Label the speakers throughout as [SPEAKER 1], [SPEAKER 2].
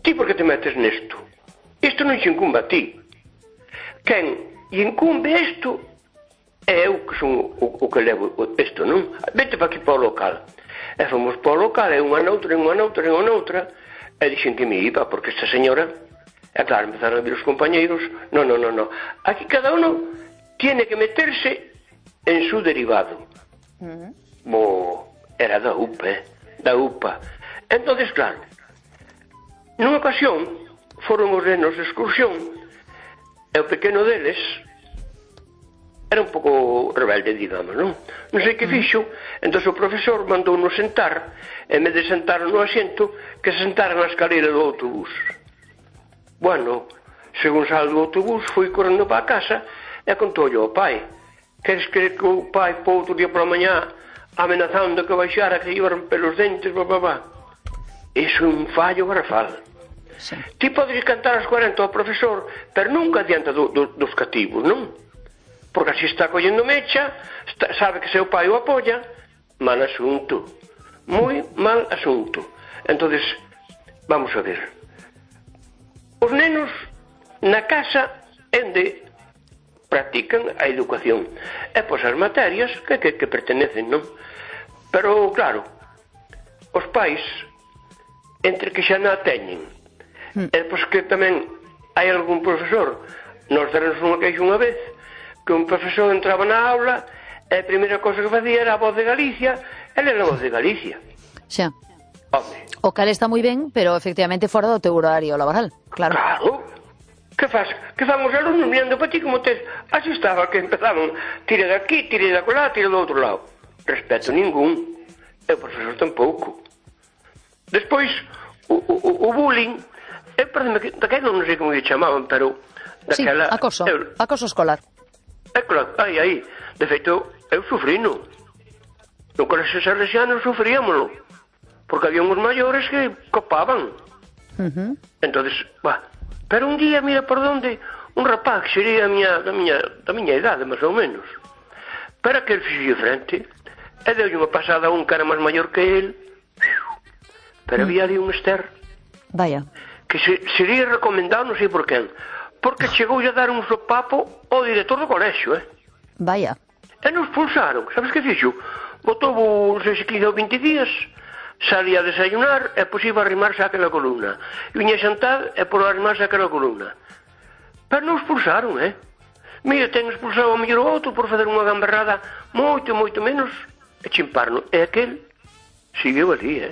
[SPEAKER 1] ti por que te metes nesto? Isto non xe incumbe a ti. Quen incumbe isto é eu que son o que levo isto, non? Vete para aquí para o local. E fomos para o local, e unha noutra, e dixen que me iba, porque esta señora, e claro, empezaron a vir os compañeiros, no, aquí cada uno tiene que meterse en su derivado. Era da UPA, da UPA. Entonces, claro, nunha ocasión, foron os nenos de excursión, e o pequeno deles era un pouco rebelde, digamos, non? Non sei que fixo, entón o profesor mandou-nos sentar, en vez de sentar no asiento, que se sentara na escalera do autobús. Bueno, según sal do autobús, foi correndo para a casa e contou-lhe ao pai. Queres que o pai para outro día pola mañá amenazando que baixara, que iba a romper os dentes, Iso é un fallo garrafal.
[SPEAKER 2] Sí.
[SPEAKER 1] Ti podes cantar as 40 ao profesor, pero nunca adianta dos cativos, non? Porque así está collendo mecha, sabe que seu pai o apoia, mal asunto. Moi mal asunto. Entonces, vamos a ver. Os nenos na casa onde practican a educación. E pois as materias que pertenecen, non? Pero, claro, os pais, entre que xa non a teñen, e pois que tamén hai algún profesor, nos deronse unha queixa unha vez, que un profesor entraba na aula e a primeira cosa que facía era a Voz de Galicia, ele era a Voz de Galicia.
[SPEAKER 2] Xa.
[SPEAKER 1] Home.
[SPEAKER 2] O cal está moi ben, pero efectivamente fora do teu horario laboral, claro.
[SPEAKER 1] Claro. Que faz? Que fan os alumnos mirando para ti como tes? Así estaba, que empezaban, tire de aquí, tire de acolá, tire do outro lado. Respeto ningún. E o profesor tampouco. Despois, o bullying, perdeme, daquela non sei como lle chamaban, pero daquela...
[SPEAKER 2] Sí, acoso escolar.
[SPEAKER 1] Claro, aí. De feito, eu sufrino. No colexio salesiano sufríamoslo. Porque había uns maiores que copaban. Entonces, pero un día, mira por onde, un rapaz que sería da miña idade, máis ou menos. Para que el fixo frente, e deu unha pasada a un cara máis maior que el, pero había ali un ester.
[SPEAKER 2] Vaya.
[SPEAKER 1] Que sería recomendado, non sei por quen, porque chegou a dar un sopapo ao director do colexio,
[SPEAKER 2] Vaya.
[SPEAKER 1] E nos expulsaron, sabes que fixo? Botou, non sei se 15 ou 20 días, salía a desayunar e pois iba a arrimarse àquela columna. Viña a xantar e por arrimarse àquela columna. Pero non expulsaron, Mira, ten expulsado a mellor outro por fazer unha gamberrada moito menos e chimparno. E aquel seguiu ali,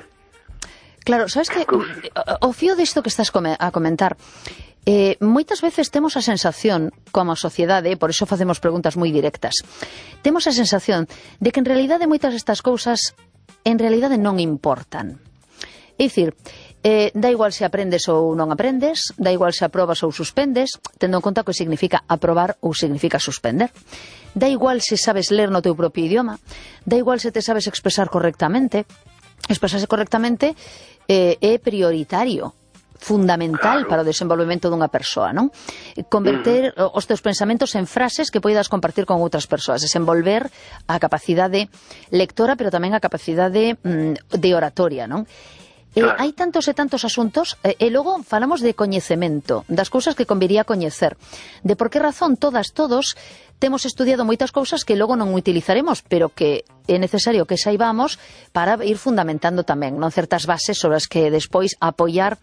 [SPEAKER 2] Claro, sabes que o fío disto que estás a comentar, moitas veces temos a sensación, como sociedade, por iso facemos preguntas moi directas, temos a sensación de que en realidade moitas destas cousas en realidade non importan. É dicir, dá igual se aprendes ou non aprendes, dá igual se aprobas ou suspendes, tendo en conta que significa aprobar ou significa suspender. Dá igual se sabes ler no teu propio idioma, dá igual se te sabes expresar correctamente. Expresarse correctamente é prioritario, fundamental para o desenvolvemento dunha persoa, non? Converter os teus pensamentos en frases que poidas compartir con outras persoas, desenvolver a capacidade lectora, pero tamén a capacidade de oratoria, non? Hai tantos e tantos asuntos, e logo falamos de coñecemento, das cousas que conviría coñecer, de por que razón todos temos estudiado moitas cousas que logo non utilizaremos, pero que é necesario que saibamos para ir fundamentando tamén, non, certas bases sobre as que despois apoiar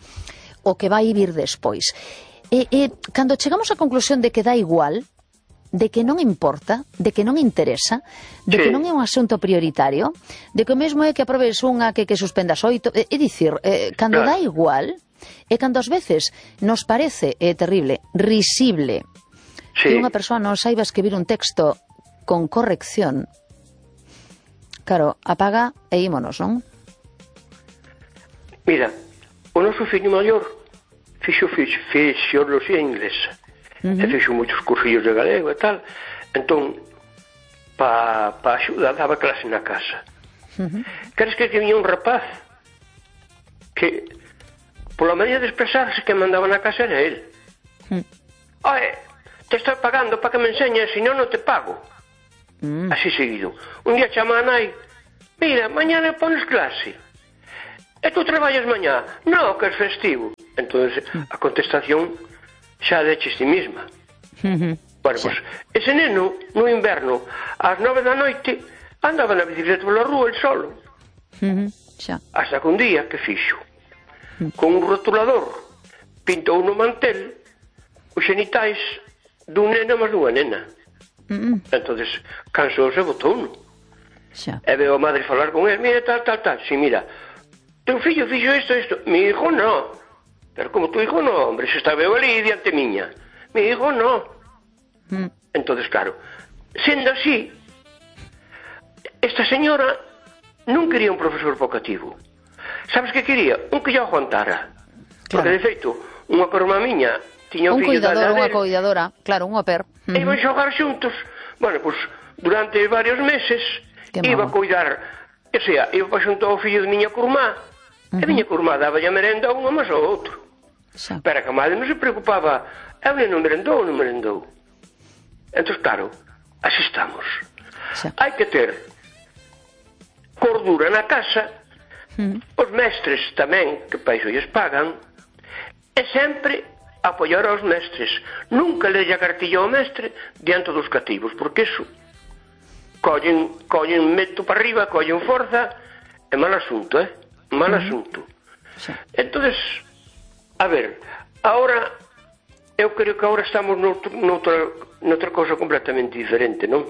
[SPEAKER 2] o que vai vir despois. Cando chegamos á conclusión de que dá igual, de que non importa, de que non interesa, de que non é un asunto prioritario, de que o mesmo é que aprobes unha que suspendas 8, é dicir, cando dá igual, e cando ás veces nos parece terrible, risible, que unha persoa non saiba escribir un texto con corrección, claro, apaga e ímonos, non?
[SPEAKER 1] Mira, o noso fillo maior fixo fisioloxía inglesa, e fixo moitos cursillos de galego e tal, entón pa axuda daba clase na casa. Queres que viña un rapaz que pola maneira de expresarse que mandaba na casa era el. Te estou pagando para que me enseñes, se non te pago. Así seguido. Un día chama a nai, mira, mañana pones clase. E tú traballas mañá? Non, que é festivo. entonces a contestación xa deches ti mesma. Bueno, pois, ese neno, no inverno, ás 9 da noite, andaba na bicicleta pola rúa, el solo. Hasta que un día, que fixo? Con un rotulador, pintou no mantel os xenitais dun neno máis dunha nena. Entonces, cansouse e botouno. E veo a madre falar con él, mira, tal. Si, mira, teu fillo fixo isto. Mi hijo no. Pero como tu hijo no, hombre, se está veo ali diante miña. Mi hijo no. Entonces, claro, sendo así, esta señora non quería un profesor vocativo. Sabes que quería? Un que lle aguantara. Porque, de feito, unha corma miña tiña un fillo da
[SPEAKER 2] unha coidadora, claro, un au pair.
[SPEAKER 1] E iban xogar xuntos. Bueno, pois, durante varios meses iba a coidar, o sea, iba para xunto ao fillo de miña curmá, e miña curmá daba a merenda a unha máis ao outro. Pero que a madre non se preocupaba, eu non merendou. Entón, claro, así estamos. Hai que ter cordura na casa, os mestres tamén, que para iso lles pagan, e sempre apoiar aos mestres. Nunca le a cartilla ao mestre diante dos cativos, porque iso collen meto para arriba, collen forza, é mal asunto, mal asunto. Entonces, a ver, ahora, eu creo que agora estamos noutra cosa completamente diferente, non?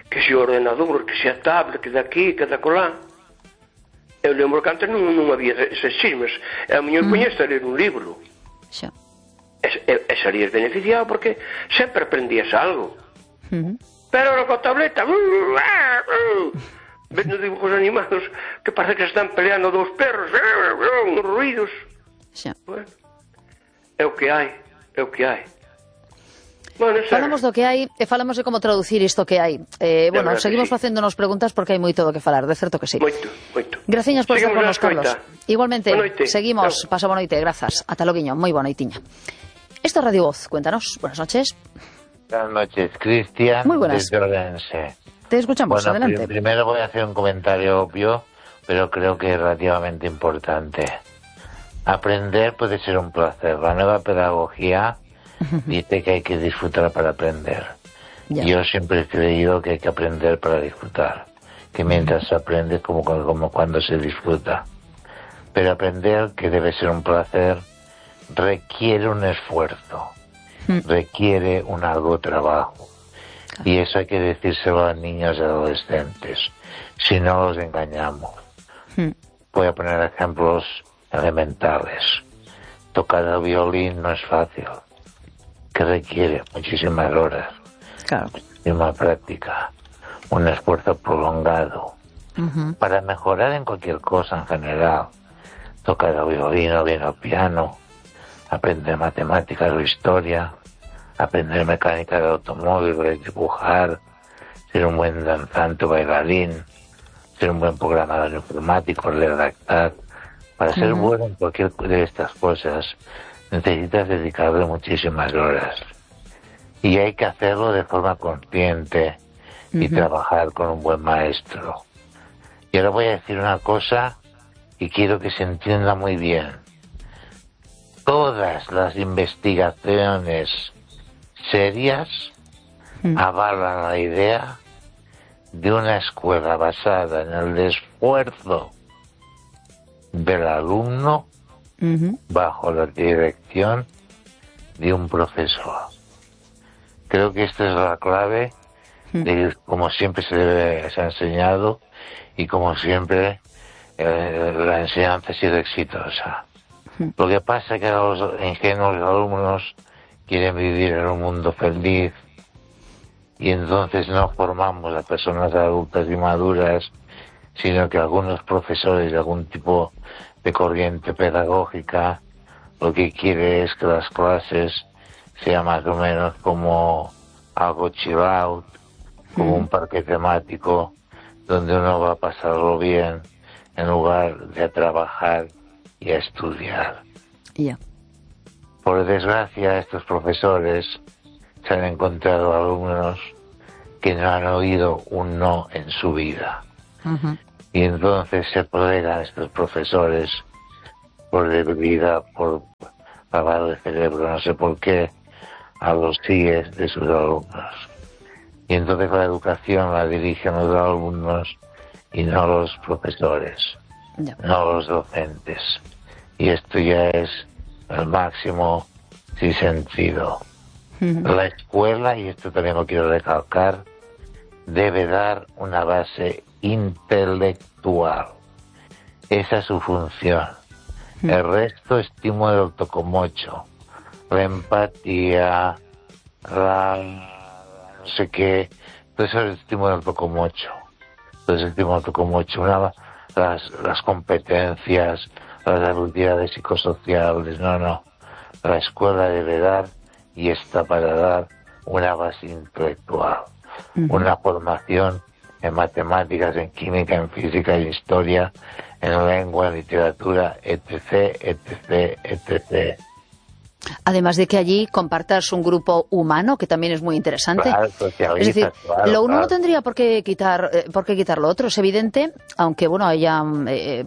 [SPEAKER 1] Que se o ordenador, que se a tablet, que daqui, que da colá. Eu lembro que antes non había eses chismes. A miña coñesta ler un libro. E salías beneficiado porque sempre aprendías algo. Pero ahora coa tableta vendo dibujos animados que parece que están peleando dous perros, uns ruidos. Bueno, é o que hai. Bueno,
[SPEAKER 2] falamos do que hai e falamos de como traducir isto que hai. Bueno, seguimos facéndonos preguntas porque hai moito do que falar, de certo que sí.
[SPEAKER 1] Moito.
[SPEAKER 2] Graciñas por estar con nos, Carlos. Igualmente, seguimos, pasa boa noite, grazas. Ata loguiño, moi boa noitiña. Esto es Radio Voz, cuéntanos, buenas noches.
[SPEAKER 3] Buenas noches, Cristian,
[SPEAKER 2] muy buenas.
[SPEAKER 3] desde Orense.
[SPEAKER 2] Te escuchamos,
[SPEAKER 3] bueno,
[SPEAKER 2] adelante.
[SPEAKER 3] Primero voy a hacer un comentario obvio, pero creo que es relativamente importante. Aprender puede ser un placer. La nueva pedagogía dice que hay que disfrutar para aprender. Yo siempre he creído que hay que aprender para disfrutar. Que mientras se aprende como cuando se disfruta. Pero aprender, que debe ser un placer, requiere un esfuerzo. Requiere un arduo trabajo. Y eso hay que decírselo a niños y adolescentes. Si no los engañamos. Voy a poner ejemplos elementales. Tocar el violín no es fácil, que requiere muchísimas horas, muchísima práctica, un esfuerzo prolongado. Para mejorar en cualquier cosa en general, tocar el violín o bien el piano, aprender matemáticas o historia, aprender mecánica de automóvil, dibujar, ser un buen danzante o bailarín, ser un buen programador informático, redactar. Para ser bueno en cualquier de estas cosas necesitas dedicarle muchísimas horas. Y hay que hacerlo de forma consciente y trabajar con un buen maestro. Y ahora voy a decir una cosa y quiero que se entienda muy bien. Todas las investigaciones serias avalan la idea de una escuela basada en el esfuerzo del alumno bajo la dirección de un profesor. Creo que esta es la clave de como siempre se ha enseñado y como siempre la enseñanza ha sido exitosa. Lo que pasa es que los ingenuos alumnos quieren vivir en un mundo feliz y entonces no formamos a personas adultas y maduras, sino que algunos profesores de algún tipo de corriente pedagógica lo que quiere es que las clases sean más o menos como algo chill out, como un parque temático donde uno va a pasarlo bien en lugar de a trabajar y a estudiar. Por desgracia, estos profesores se han encontrado alumnos que no han oído un no en su vida. Y entonces se plegan estos profesores por debilidad, por lavado de cerebro, no sé por qué, a los CIEs de sus alumnos. Y entonces la educación la dirigen los alumnos y no los profesores, no los docentes. Y esto ya es el máximo sinsentido. La escuela, y esto también lo quiero recalcar, debe dar una base intelectual. Esa es su función. El resto, estímulo del autocomocho, la empatía, no sé qué, todo eso es estímulo del autocomocho. Todo ese estímulo del autocomocho, las competencias, las habilidades psicosociales, no. La escuela debe dar, y está para dar, una base intelectual, una formación en matemáticas, en química, en física, en historia, en lengua, en literatura, etc., etc., etc.
[SPEAKER 2] Además de que allí compartas un grupo humano, que también es muy interesante.
[SPEAKER 3] Claro,
[SPEAKER 2] es decir,
[SPEAKER 3] claro,
[SPEAKER 2] lo uno no tendría por qué quitar lo otro, es evidente, aunque bueno, haya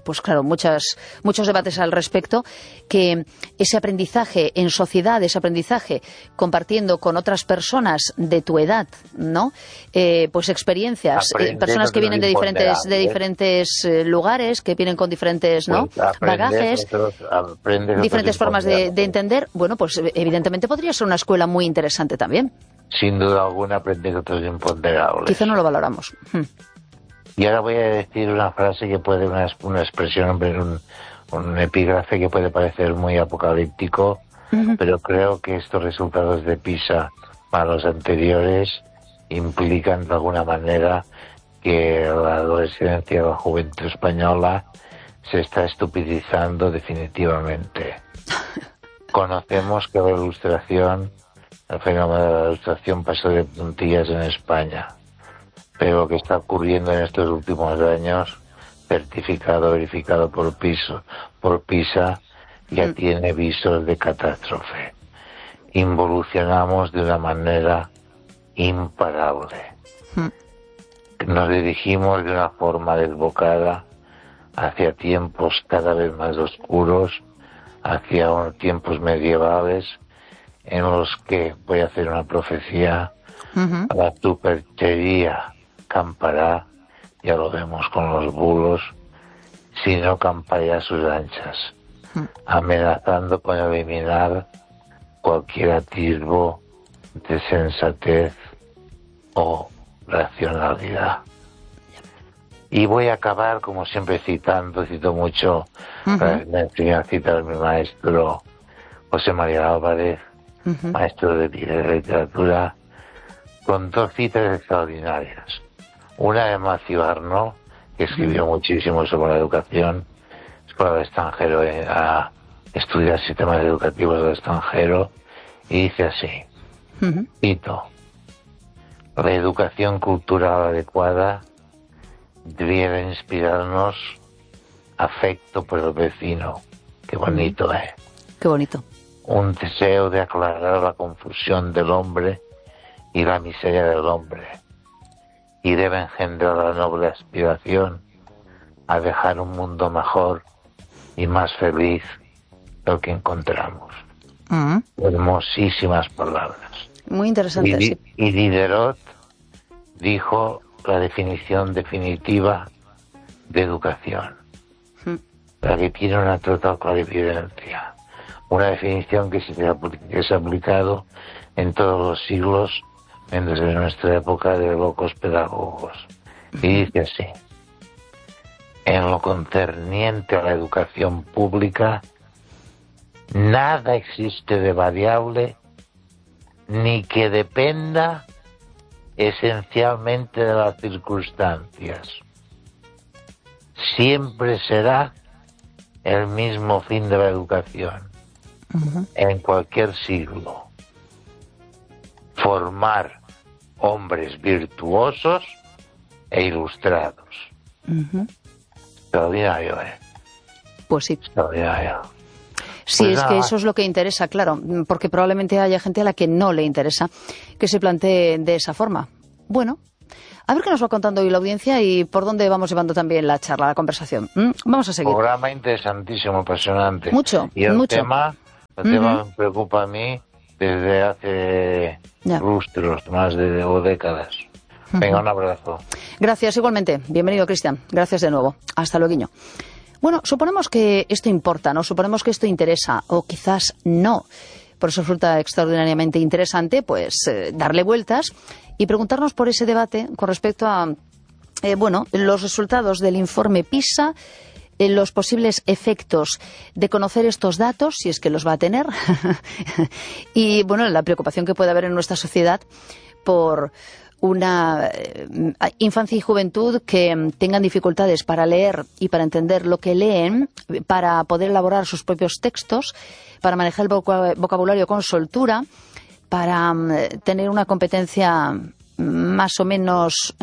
[SPEAKER 2] pues claro, muchos debates al respecto, que ese aprendizaje en sociedad, ese aprendizaje compartiendo con otras personas de tu edad, ¿no? Pues experiencias, personas que vienen de diferentes lugares, que vienen con diferentes, ¿no?
[SPEAKER 3] Pues
[SPEAKER 2] bagages, diferentes formas de entender. Bueno, pues evidentemente podría ser una escuela muy interesante también.
[SPEAKER 3] Sin duda alguna, aprender otros imponderables.
[SPEAKER 2] Quizá no lo valoramos.
[SPEAKER 3] Y ahora voy a decir una frase que puede, una expresión, un epígrafe que puede parecer muy apocalíptico, pero creo que estos resultados de PISA para los anteriores implican de alguna manera que la adolescencia, la juventud española se está estupidizando definitivamente. Conocemos que el fenómeno de la ilustración pasó de puntillas en España, pero lo que está ocurriendo en estos últimos años, certificado, verificado por PISA, ya tiene visos de catástrofe. Involucionamos de una manera imparable. Nos dirigimos de una forma desbocada hacia tiempos cada vez más oscuros, hacia unos tiempos medievales en los que, voy a hacer una profecía, la superchería campará, ya lo vemos con los bulos, si no campará a sus anchas, amenazando con eliminar cualquier atisbo de sensatez o racionalidad. Y voy a acabar, como siempre, cito mucho, me enseñó a citar a mi maestro José María Álvarez, maestro de literatura, con dos citas extraordinarias. Una de Matthew Arnold, que escribió muchísimo sobre la educación, es para el extranjero, a estudiar sistemas educativos del extranjero, y dice así, cito: la educación cultural adecuada debiera inspirarnos afecto por el vecino. Qué bonito, ¿eh?
[SPEAKER 2] Qué bonito.
[SPEAKER 3] Un deseo de aclarar la confusión del hombre y la miseria del hombre. Y debe engendrar la noble aspiración a dejar un mundo mejor y más feliz del que encontramos. Hermosísimas palabras.
[SPEAKER 2] Muy interesante.
[SPEAKER 3] Y Diderot dijo la definición definitiva de educación, la que tiene una total clarividencia, una definición que se ha aplicado en todos los siglos, menos en nuestra época de locos pedagogos. Y dice así: en lo concerniente a la educación pública, nada existe de variable ni que dependa esencialmente de las circunstancias. Siempre será el mismo fin de la educación, en cualquier siglo: formar hombres virtuosos e ilustrados. Extraordinario, ¿eh?
[SPEAKER 2] Pues sí.
[SPEAKER 3] Extraordinario.
[SPEAKER 2] Sí,
[SPEAKER 3] Pues
[SPEAKER 2] es que eso es lo que interesa, claro, porque probablemente haya gente a la que no le interesa que se plantee de esa forma. Bueno, a ver qué nos va contando hoy la audiencia y por dónde vamos llevando también la charla, la conversación. Vamos a seguir.
[SPEAKER 3] Programa interesantísimo, apasionante.
[SPEAKER 2] Mucho,
[SPEAKER 3] y el
[SPEAKER 2] mucho.
[SPEAKER 3] tema El tema me preocupa a mí desde hace lustros, o décadas. Venga, un abrazo.
[SPEAKER 2] Gracias, igualmente. Bienvenido, Cristian. Gracias de nuevo. Hasta luego. Bueno, suponemos que esto importa, ¿no? Suponemos que esto interesa, o quizás no. Por eso resulta extraordinariamente interesante, pues, darle vueltas y preguntarnos por ese debate con respecto a, los resultados del informe PISA, los posibles efectos de conocer estos datos, si es que los va a tener, y, la preocupación que puede haber en nuestra sociedad por una infancia y juventud que tengan dificultades para leer y para entender lo que leen, para poder elaborar sus propios textos, para manejar el vocabulario con soltura, para tener una competencia más o menos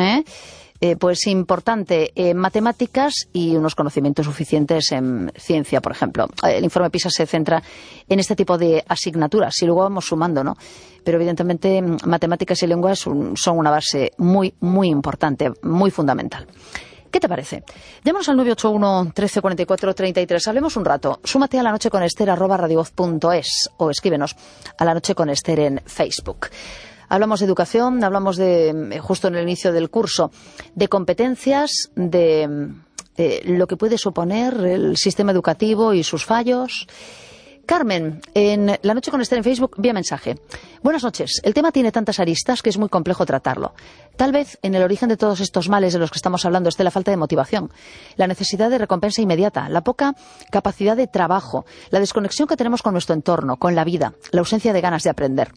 [SPEAKER 2] importante en matemáticas y unos conocimientos suficientes en ciencia, por ejemplo. El informe PISA se centra en este tipo de asignaturas y luego vamos sumando, ¿no? Pero evidentemente matemáticas y lenguas son una base muy, muy importante, muy fundamental. ¿Qué te parece? Llámanos al 981 13 44 33. Hablemos un rato. Súmate a lanocheconester@radiovoz.es o escríbenos a La Noche con Ester en Facebook. Hablamos de educación, hablamos de, justo en el inicio del curso, de competencias, de lo que puede suponer el sistema educativo y sus fallos. Carmen, en La Noche con Ester en Facebook, vía mensaje. Buenas noches. El tema tiene tantas aristas que es muy complejo tratarlo. Tal vez en el origen de todos estos males de los que estamos hablando esté la falta de motivación, la necesidad de recompensa inmediata, la poca capacidad de trabajo, la desconexión que tenemos con nuestro entorno, con la vida, la ausencia de ganas de aprender.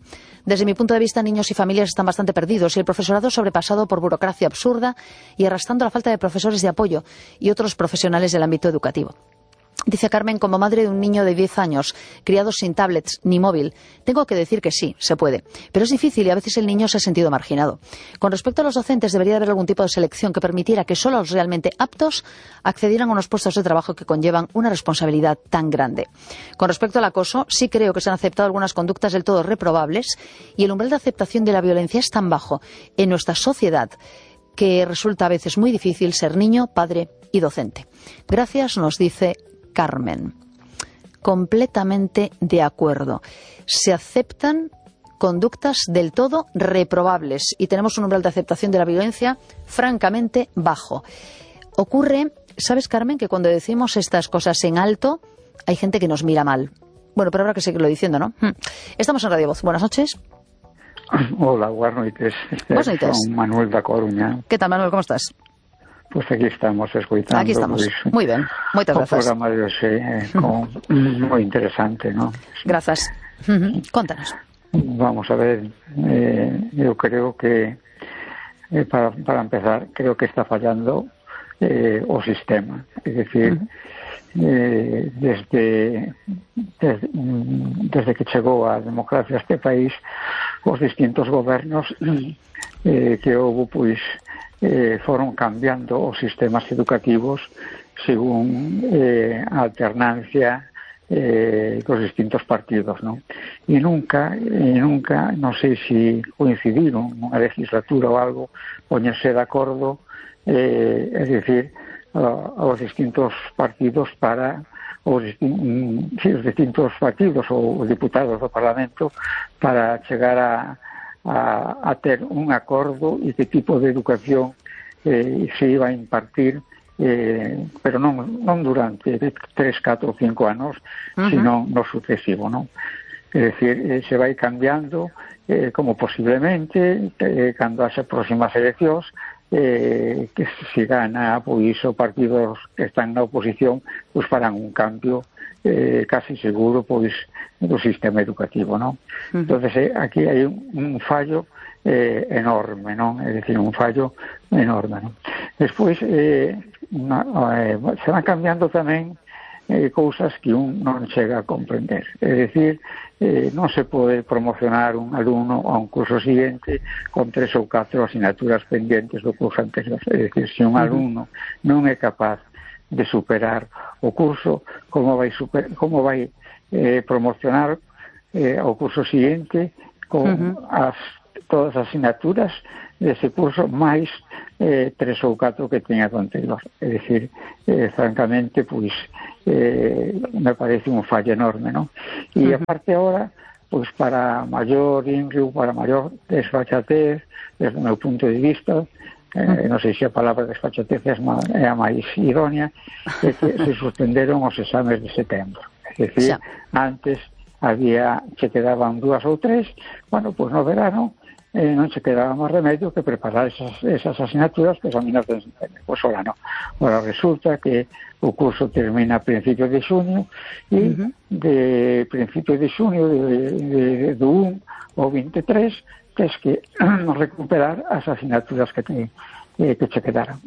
[SPEAKER 2] Desde mi punto de vista, niños y familias están bastante perdidos y el profesorado sobrepasado por burocracia absurda y arrastrando la falta de profesores de apoyo y otros profesionales del ámbito educativo. Dice Carmen, como madre de un niño de 10 años, criado sin tablets ni móvil, tengo que decir que sí, se puede. Pero es difícil y a veces el niño se ha sentido marginado. Con respecto a los docentes, debería haber algún tipo de selección que permitiera que solo los realmente aptos accedieran a unos puestos de trabajo que conllevan una responsabilidad tan grande. Con respecto al acoso, sí creo que se han aceptado algunas conductas del todo reprobables y el umbral de aceptación de la violencia es tan bajo en nuestra sociedad que resulta a veces muy difícil ser niño, padre y docente. Gracias, nos dice Carmen. Completamente de acuerdo. Se aceptan conductas del todo reprobables y tenemos un umbral de aceptación de la violencia francamente bajo. Ocurre, ¿sabes, Carmen, que cuando decimos estas cosas en alto hay gente que nos mira mal? Bueno, pero habrá que seguirlo diciendo, ¿no? Estamos en Radio Voz. Buenas noches.
[SPEAKER 4] Hola, buenas noches.
[SPEAKER 2] Buenas noches.
[SPEAKER 4] Soy Manuel da Coruña.
[SPEAKER 2] ¿Qué tal, Manuel? ¿Cómo estás?
[SPEAKER 4] Pues aquí estamos escuchando.
[SPEAKER 2] Aquí estamos. Muy bien. Muchas gracias.
[SPEAKER 4] Un programa de hoy muy interesante, ¿no?
[SPEAKER 2] Gracias. Contanos.
[SPEAKER 4] Vamos a ver, yo creo que, para empezar, creo que está fallando o sistema. Es decir, desde que chegou a democracia a este país, os distintos gobernos que houve, pois, foron cambiando os sistemas educativos según a alternancia cos distintos partidos, non? E nunca, non sei se coincidiron nunha legislatura ou algo, poñerse de acordo, é dicir, aos distintos partidos para os distintos partidos ou diputados do Parlamento para chegar a ter un acordo e que tipo de educación se iba a impartir, pero non durante 3, 4 ou 5 anos, sino no sucesivo, non? É dicir, se vai cambiando, como posiblemente, cando haxe próximas eleccións, que se gana, pois, os partidos que están na oposición, pois farán un cambio casi seguro, pois, do sistema educativo, non? Entonces, aquí hai un fallo enorme, non? É dicir, un fallo enorme, non? Despois, se van cambiando tamén cousas que un non chega a comprender. É dicir, non se pode promocionar un alumno a un curso seguinte con 3 ou 4 asignaturas pendientes do curso anterior. É dicir, se un alumno non é capaz de superar o curso, como vai promocionar o curso seguinte con as todas as asignaturas dese curso máis 3 ou 4 que teña do anterior. É dicir, francamente, pois me parece un fallo enorme, non? E aparte agora, pois para maior inrio, para maior desfachatez, desde o meu punto de vista, non sei se a palabra desfachatez é a máis idónea, é que se suspenderon os exames de setembro. É dicir, antes se quedaban 2 ou 3, bueno, pois no verano non se quedaba máis remedio que preparar esas asignaturas que son de setembro. Pois ahora non. Ahora resulta que o curso termina a principios de xuño e de principios de xuño do 1 ao 23 tens que recuperar as asignaturas que che quedaran.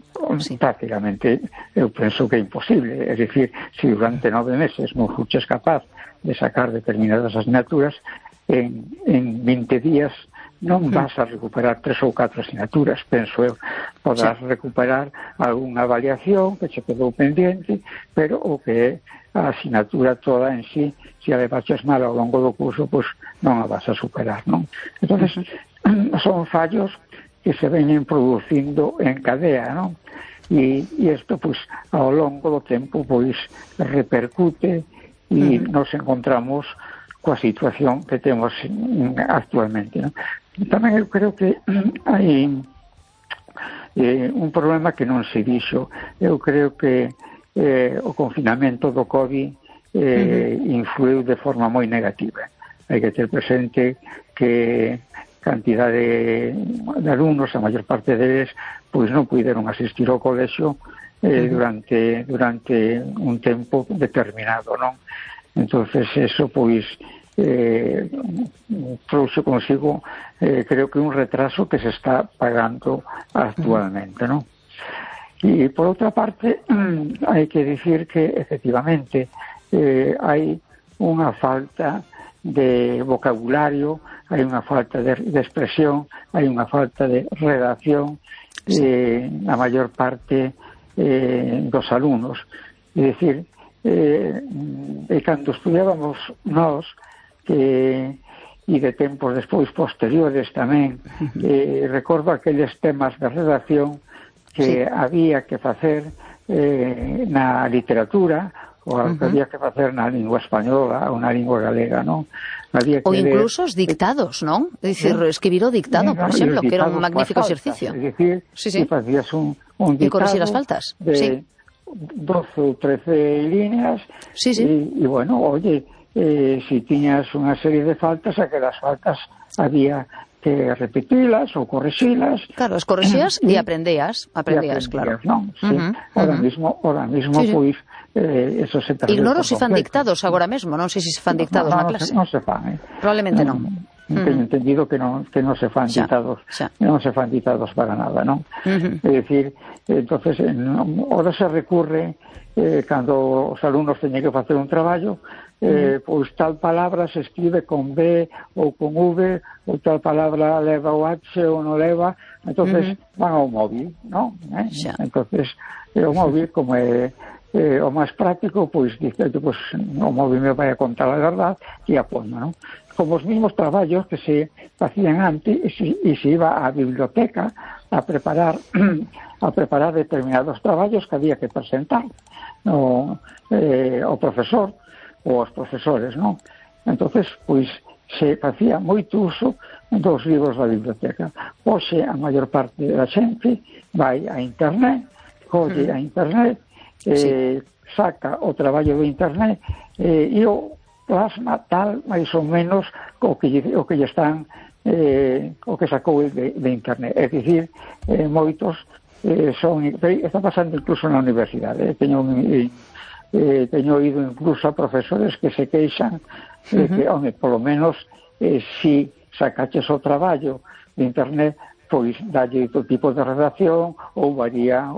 [SPEAKER 4] Prácticamente eu penso que é imposible. É dicir, se durante 9 meses non fuches capaz de sacar determinadas asignaturas, en 20 días non vas a recuperar 3 ou 4 asignaturas, penso eu. Podrás recuperar algunha avaliación que che quedou pendiente, pero o que é a asignatura toda en sí, se a levaches mal ao longo do curso, pois non a vas a superar, non? Entón, son fallos que se veñen producindo en cadea, non? E isto, pois, ao longo do tempo, pois, repercute e nos encontramos coa situación que temos actualmente, non? Tamén eu creo que hai un problema que non se dixo. Eu creo que o confinamento do COVID influiu de forma moi negativa. Hai que ter presente que cantidade de alumnos, a maior parte deles, pois non puderon asistir ao colexio durante un tempo determinado, non? Entonces, eso, pois, trouxe consigo, creo que un retraso que se está pagando actualmente, non? E, por outra parte, hai que dicir que, efectivamente, hai unha falta de vocabulario, hai unha falta de expresión, hai unha falta de redacción na maior parte dos alumnos. É dicir, cando estudiábamos nós, e de tempos despois posteriores tamén, recordo aqueles temas de redacción que había que facer na literatura, ou que había que facer na lingua española ou na lingua galega, non?
[SPEAKER 2] Ou incluso os dictados, non? É dicir, escribir o dictado, por exemplo, que era un magnífico exercicio.
[SPEAKER 4] É dicir, que facías un dictado
[SPEAKER 2] e corregir as faltas
[SPEAKER 4] de 12 ou 13 líneas e, bueno, oye, si tiñas unha serie de faltas, aquelas faltas había que repetilas ou correxilas.
[SPEAKER 2] Claro, as correxías e aprendías, claro.
[SPEAKER 4] Non? Sí. Ahora mismo, pois, eso se perdeu.
[SPEAKER 2] Ignoro se fan dictados agora mesmo, non sei se se fan dictados na clase.
[SPEAKER 4] Non se fan,
[SPEAKER 2] Probablemente non.
[SPEAKER 4] Teño entendido que non se fan dictados, non se fan dictados para nada, non? É dicir, entonces, ahora se recurre, cando os alumnos teñen que facer un traballo, pois tal palabra se escribe con B ou con V, ou tal palabra leva o H ou non leva, entonces van ao móvil, non? Entonces, o móvil, como é o máis práctico, pois dice, pois, o móvil me vai a contar a verdade e a forma, non? Como os mismos traballos que se facían antes e se iba á biblioteca a preparar determinados traballos que había que presentar o profesor ou os profesores, non? Entonces, pois, se facía moito uso dos libros da biblioteca. Hoxe, a maior parte da xente vai a internet, colle a internet, saca o traballo do internet e o plasma tal, máis ou menos, o que lle están o que sacou de internet. É dicir, moitos está pasando incluso na universidade. Teño ido incluso a profesores que se queixan de que, polo menos, si sacaches o traballo de internet, pois dalle outro tipo de redacción ou varía,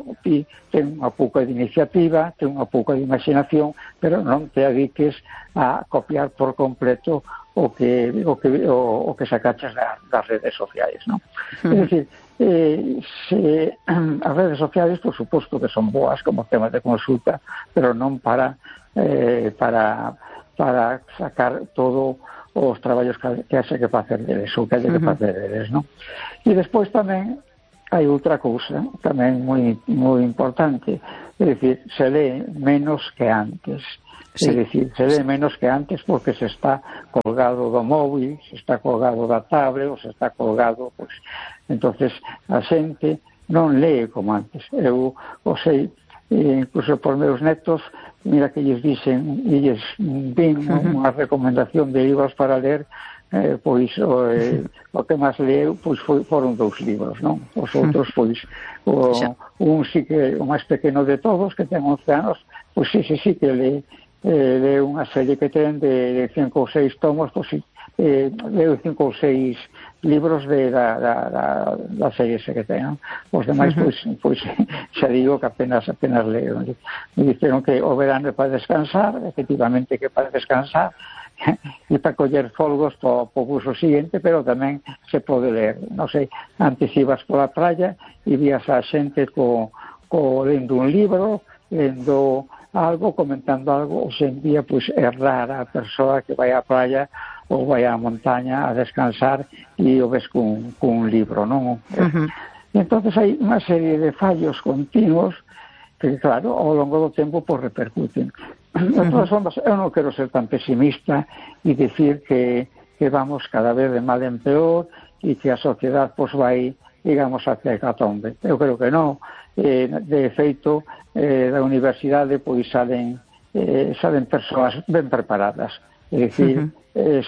[SPEAKER 4] ten unha pouca de iniciativa, ten unha pouca de imaginación, pero non te adiques a copiar por completo o que sacaches das redes sociais, non? É dicir, as redes sociais, por suposto que son boas como temas de consulta, pero non para para sacar todo os traballos que haxe que facer deles, ou que haxe que facer deles, non? E despois tamén hai outra cousa tamén moi importante, é dicir, se lee menos que antes. Sí. É dicir, se lee menos que antes porque se está colgado do móvil, se está colgado da tablet, ou se está colgado, pois, entonces a xente non lee como antes. Eu o sei, incluso por meus netos, mira que lles dicen, e lles din unha recomendación de libros para ler, pois o que máis leu pois foron 2 libros, non? Os outros, pois, un sí que o máis pequeno de todos, que ten 11 anos, pois sí que lee unha serie que ten de 5 ou 6 tomos, pois leu 5 ou 6 libros da serie ese que ten, non? Os demais, pois xa digo que apenas leo. Me dixeron que o verano é para descansar, efectivamente que para descansar, e para coller folgos para o curso siguiente, pero tamén se pode ler. Non sei, antes ibas pola praia e vías a xente lendo un libro, lendo algo, comentando algo. Hoxe en día, pois, é rara a persoa que vai á praia ou vai á montaña a descansar e o ves cun libro, non? Entonces hai unha serie de fallos continuos que, claro, ao longo do tempo pois repercuten. De todas formas, eu non quero ser tan pesimista e dicir que vamos cada vez de mal en peor e que a sociedade pois vai, digamos, hacia a hecatombe. Eu creo que non. De feito, da universidade pois salen persoas ben preparadas. É dicir,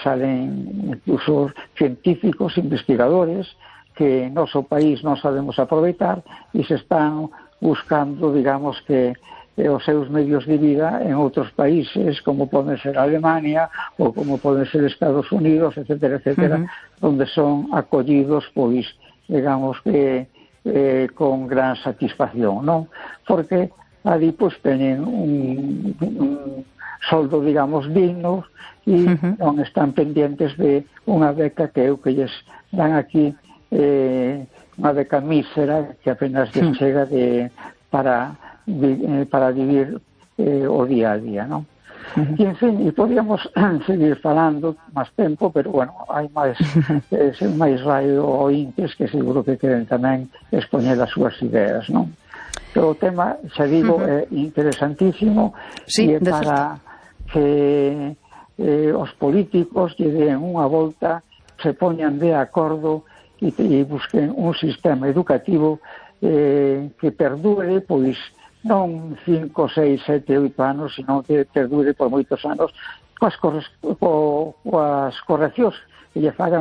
[SPEAKER 4] salen incluso científicos, investigadores que no noso país non sabemos aproveitar e se están buscando, digamos, que os seus medios de vida en outros países, como poden ser Alemania ou como poden ser Estados Unidos, etcétera, onde son acollidos, pois, digamos que con gran satisfacción, non? Porque ali, pois, teñen un soldo, digamos, digno e non están pendientes de unha beca que lles dan aquí, unha beca mísera que apenas les chega para vivir o día a día, non? E, en fin, e podíamos seguir falando máis tempo, pero, bueno, hai máis radio ointes que seguro que queren tamén expoñer as súas ideas, non? Pero o tema, xa digo, é interesantísimo, e é para que os políticos lle den unha volta, se poñan de acordo e busquen un sistema educativo que perdure, pois, non 5, 6, 7, 8 anos, sino que perdure por moitos anos, coas correccións que lle fagan